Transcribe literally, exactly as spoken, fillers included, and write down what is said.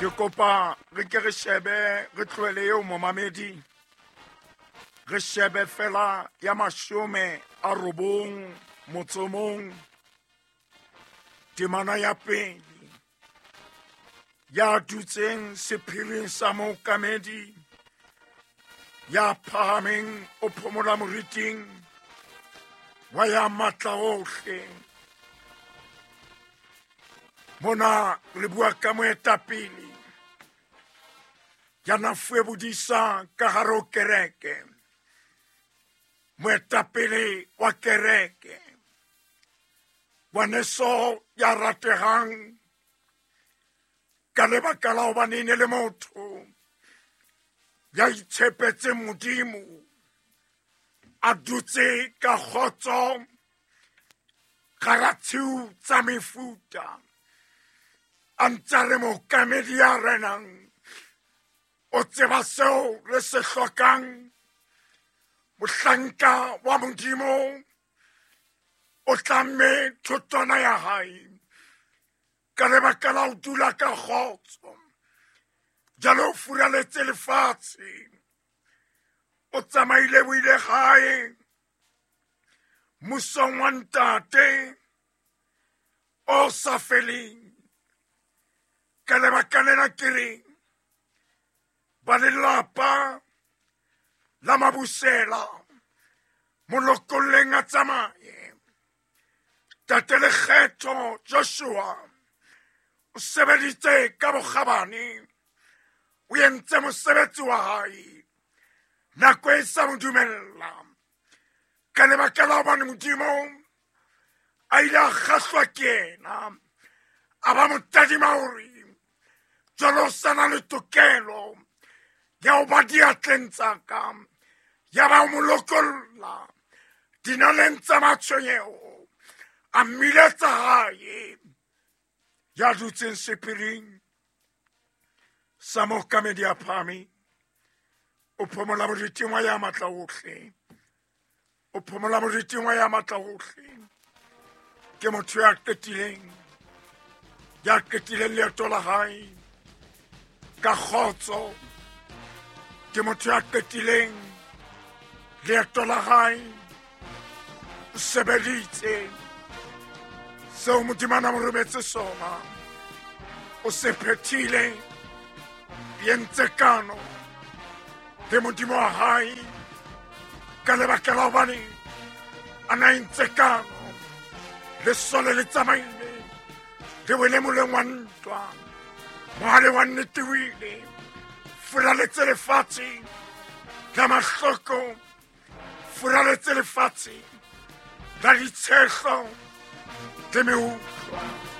Ke kopa re ke re shebe re tlohele eo momamedi. Re shebe fela ya mashome a robong motsomong temana ya pele ya dutseng sephiring sa mookamedi ya phahameng o phomola moriting wa ya matla ohle. Mona re bua ka moetapele ya na fuwe bodisa ka hare ho kereke, moetapele wa kereke, ngwaneso ya ratehang ka lebaka la hobane e ne le motho ya itshepetseng Modimo, a dutse ka kgotso gara tshiu tsa mefuta, a ntse re mookamedi ya renang o tseba seo re se hlokang. Mohlanka wa Modimo o tlamme thotwana ya hae ka lebaka la ho dula ka kgotso. Jwale o furaletse lefatshe, o tsamaile o ile gae mmusong wa ntate o sa feleng. Ka lebaka lena ke reng ba lelapa la Mabusela molokolleng a tsamaye. Tate Lekgetho Joshua o sebeditse ka bokgabane, o entse mosebetsi wa hae nako e sa mo dumella. Ka lebaka la hobane Modimo a ile a kgahlwa ke yena, a ba mo tadima hore jwale o sa na le tokelo ya ho ba diatleng tsa ka, ya ba o mo lokolla dinaleng tsa matshwenyeho, a mmiletsa hae. Ya dutseng sephiring sa mookamedi a phahameng o phomola moriting wa ya matla ohle, o phomola moriting wa ya matla ohle. Ke motho ya qetileng, ya qetileng leeto la hae ka kgotso. Ke motho ya qetileng leeto la hae, o sebeditse seo Modimo a na mo rometse sona, o se phethile, entse kano le Modimo wa hae. Ka lebaka la hobane a na entse kano, lesole le tsamaile le wele moleng wa ntwa, mohale wa nnete o ile furaletse lefatshe la mahloko, furaletse lefatshe la ditshehlo le meutlwa.